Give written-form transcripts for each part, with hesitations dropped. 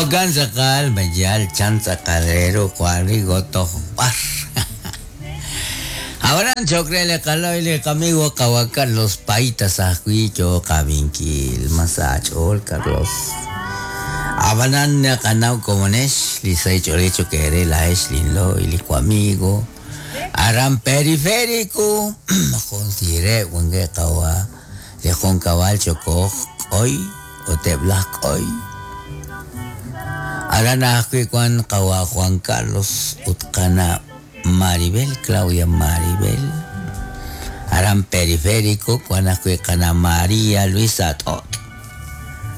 Jo'kan tz'aqal mayal chan tz'aqal re ru Juan Rigo toj b'ar. Ab'anan cho'q re li qalo'y li qamigo qawa' Carlos Paitas ajwi' yooq aab'inkil. Ma sa aach'ool Carlos? Ab'anan naqanaw komonex li sahil ch'oolej cho'q eere laa'ex linlo'y li wamigo aran Periférico jun siireb' wankeb' qawa' li junkab'al chokoj k'oy ut eb' laj k'oy. Aran ajwi' wank qawa' Juan Carlos ut qana' Maribel, Claudia Maribel. Aran Periférico wank ajwi' qana' María Luisa T'ot',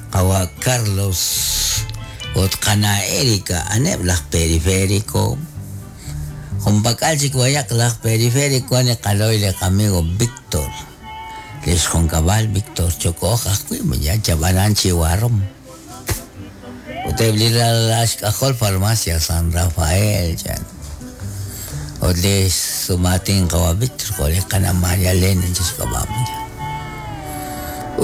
qawa' Carlos ut qana' Erika, a'aneb' laj Periférico. Junpak'al chik b'ayaq laj Periférico wank li qalo'y li qamigo Víctor, li xjunkab'al Víctor Chokoj ajwi' yal chab'anan chi warom. Ut eb' li ralal xk'ajol Farmacia San Rafael chan. Ut li xsumaatin qawa' Víctor jo' li qana' María Elena chi xk'ab'a' chan.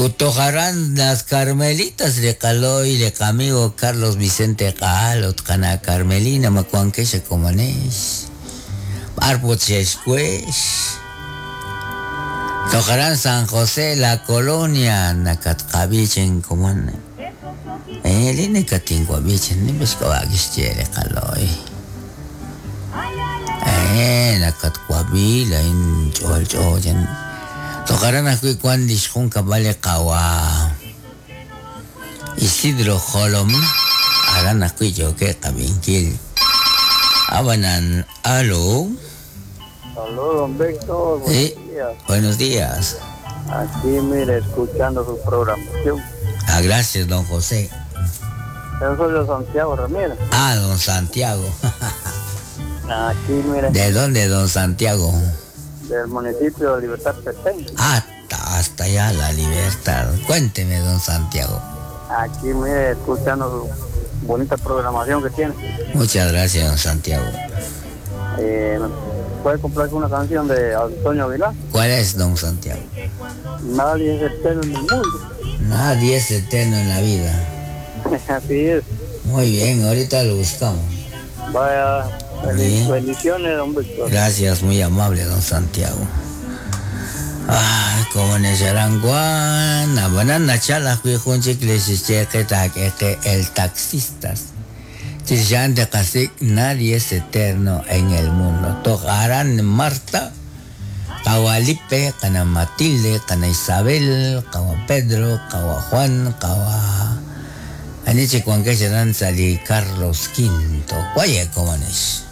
Ut toj aran Las Carmelitas li qalo'y li qamigo Carlos Vicente Q'ahal ut qana' Carmelina ma wankex a komonex. B'ar put xexwex. Toj aran San José La Colonia nakatqab'i chin komon. Eh, li nakatinwab'i chin nim xk'ab'a' kixye li qalo'y. Eh, nakatwab'i laa'in ch'olch'o chin. Toj aran ajwi' wank li xjunkab'al li qawa' Isidro Jolomna, aran ajwi' yookeb' qab'inkil. Ab'anan, alo. Saludos, don Víctor. Buenos Sí, días. buenos días. Aquí, mire, escuchando su programación. Ah, gracias, don José. Yo soy de Santiago Ramírez. Ah, don Santiago. Aquí, mire, ¿De dónde, don Santiago? del municipio de Libertad Petén. Hasta, hasta allá, la libertad. Cuénteme, don Santiago. Aquí, mire, escuchando su bonita programación que tiene. Muchas gracias, don Santiago. Eh, ¿Puede comprarse una canción de Antonio Aguilar? ¿Cuál es, don Santiago? Nadie es eterno en el mundo. Nadie es eterno en la vida. Así es. Muy bien, ahorita lo buscamos. Vaya, Bien. bendiciones, don Víctor. Gracias, muy amable, don Santiago. Ay, como Necharanguan, banana chala, junchik el taxistas. Chishan de Kasik, nadie es eterno en el mundo. Tojarán Marta, Kawalipe, Kana Matilde, Kana Isabel, Kawa Pedro, Kawa Juan, Kawa. Aniche Juan Sali Carlos V. Guaye, como es.